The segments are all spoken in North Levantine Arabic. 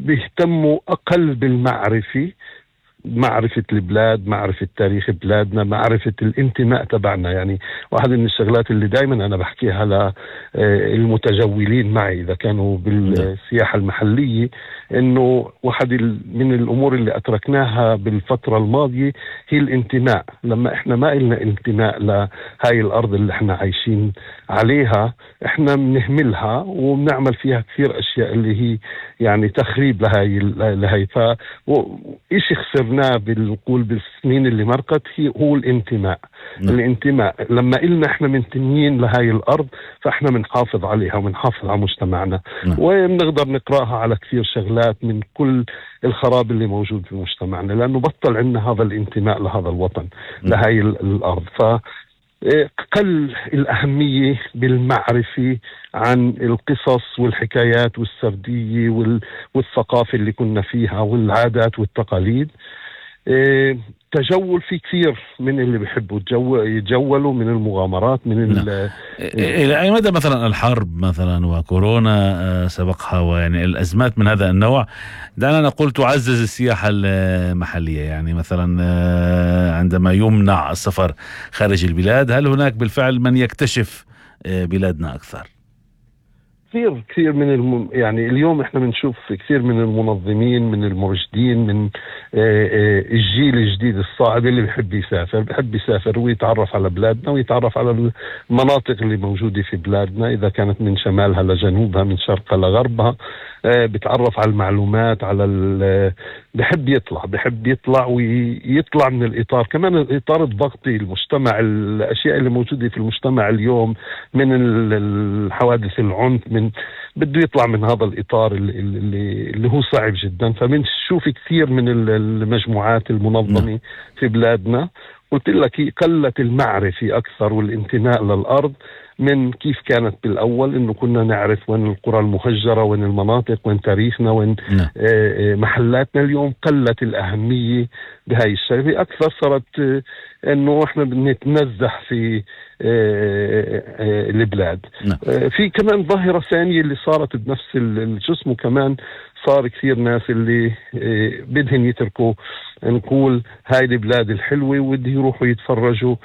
بيهتموا أقل بالمعرفة، معرفة البلاد، معرفة تاريخ بلادنا، معرفة الانتماء تبعنا. يعني واحد من الشغلات اللي دايما أنا بحكيها للمتجولين معي إذا كانوا بالسياحة المحلية، إنه واحد من الأمور اللي أتركناها بالفترة الماضية هي الانتماء. لما إحنا ما إلنا انتماء لهاي الأرض اللي إحنا عايشين عليها، إحنا بنهملها وبنعمل فيها كثير أشياء اللي هي يعني تخريب لهاي إشي خسرناه بالقول بالسنين اللي مرقت هو الانتماء. الانتماء لما إلنا إحنا منتميين لهاي الأرض، فإحنا منحافظ عليها ومنحافظ على مجتمعنا، وبنقدر نقرأها على كثير شغلات من كل الخراب اللي موجود في مجتمعنا، لأنه بطل عندنا هذا الانتماء لهذا الوطن، لهاي الأرض. قل الأهمية بالمعرفة عن القصص والحكايات والسردية والثقافة اللي كنا فيها والعادات والتقاليد. تجول في كثير من اللي بيحبوا يتجولوا من المغامرات إلى أي مدى مثلا الحرب مثلا وكورونا سبقها ويعني الأزمات من هذا النوع دعنا نقول تعزز السياحة المحلية؟ يعني مثلا عندما يمنع السفر خارج البلاد، هل هناك بالفعل من يكتشف بلادنا أكثر؟ كثير من يعني اليوم احنا بنشوف كثير من المنظمين، من المرشدين، من الجيل الجديد الصاعد اللي بحب يسافر ويتعرف على بلادنا ويتعرف على المناطق اللي موجودة في بلادنا، إذا كانت من شمالها لجنوبها، من شرقها لغربها. بتعرف على المعلومات، بحب يطلع ويطلع من الإطار، كمان الإطار الضغطي المجتمع، الأشياء اللي موجودة في المجتمع اليوم من الحوادث العنف، بده يطلع من هذا الإطار اللي هو صعب جدا. فبنشوف كثير من المجموعات المنظمة في بلادنا، قلت لك قلت المعرفة أكثر والانتماء للأرض من كيف كانت بالأول، إنه كنا نعرف وين القرى المهجرة، وين المناطق، وين تاريخنا، وين محلاتنا. اليوم قلت الأهمية بهاي الشغلة أكثر، صارت إنه إحنا بنتنزح في البلاد. في كمان ظاهرة ثانية اللي صارت بنفس الجسم، كمان صار كثير ناس اللي بدهم يتركوا نقول هاي البلاد الحلوة وبده يروحوا يتفرجوا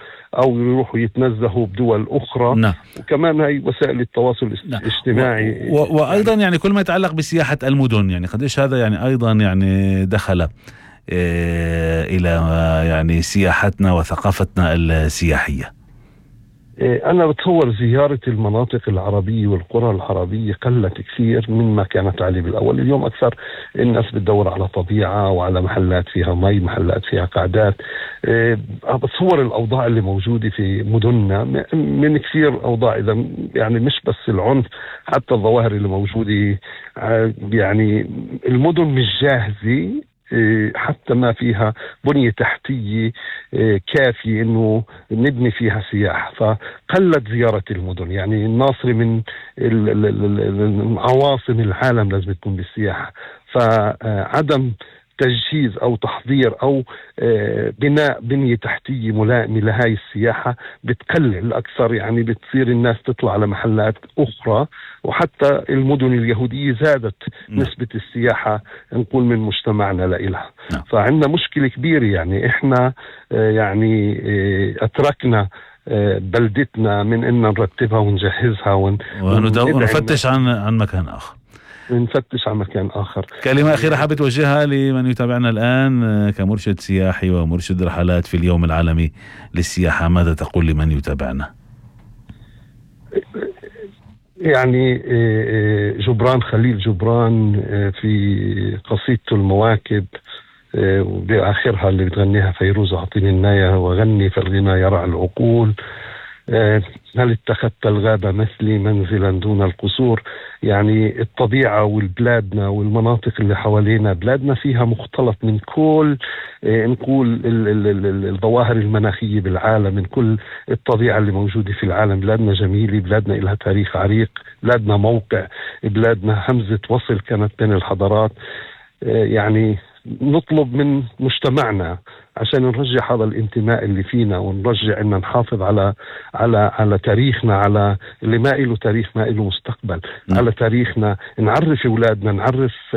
أو يروحوا يتنزهوا بدول أخرى. وكمان هاي وسائل التواصل الاجتماعي وأيضا يعني كل ما يتعلق بسياحة المدن، يعني قديش هذا يعني أيضا يعني دخل إلى يعني سياحتنا وثقافتنا السياحية. أنا بتصور زيارة المناطق العربية والقرى العربية قلت كثير مما كانت عليه بالأول. اليوم أكثر الناس بتدور على طبيعة وعلى محلات فيها مي، محلات فيها قعدات. بتصور الأوضاع اللي موجودة في مدننا من كثير أوضاع، إذا يعني مش بس العنف، حتى الظواهر اللي موجودة. يعني المدن مش جاهزة، حتى ما فيها بنية تحتية كافية إنه نبني فيها سياحة، فقلت زيارة المدن. يعني الناصري من عواصم العالم لازم تكون بالسياحة، فعدم تجهيز أو تحضير أو بناء بنية تحتية ملائمة لهاي السياحة بتقلل أكثر. يعني بتصير الناس تطلع على محلات أخرى، وحتى المدن اليهودية زادت نسبة السياحة نقول من مجتمعنا لإلها. فعندنا مشكلة كبيرة. يعني إحنا يعني أتركنا بلدتنا من إن نرتبها ونجهزها ونفتش عن مكان آخر. نفتش على مكان آخر. كلمة أخيرة حابة توجهها لمن يتابعنا الآن كمرشد سياحي ومرشد رحلات في اليوم العالمي للسياحة؟ ماذا تقول لمن يتابعنا؟ يعني جبران، خليل جبران في قصيدته المواكب وبآخرها اللي بتغنيها فيروز أعطيني الناية وغني فالغنى يرعى العقول، هل اتخذت الغابة مثلي منزلا دون القصور. يعني الطبيعة والبلادنا والمناطق اللي حوالينا، بلادنا فيها مختلط من كل نقول الظواهر المناخية بالعالم، من كل الطبيعة اللي موجودة في العالم. بلادنا جميلة، بلادنا إلها تاريخ عريق، بلادنا موقع، بلادنا همزة وصل كانت بين الحضارات. يعني نطلب من مجتمعنا عشان نرجع هذا الانتماء اللي فينا، ونرجع إن نحافظ على تاريخنا، على اللي ما إله تاريخ ما إله مستقبل، على تاريخنا، نعرف أولادنا، نعرف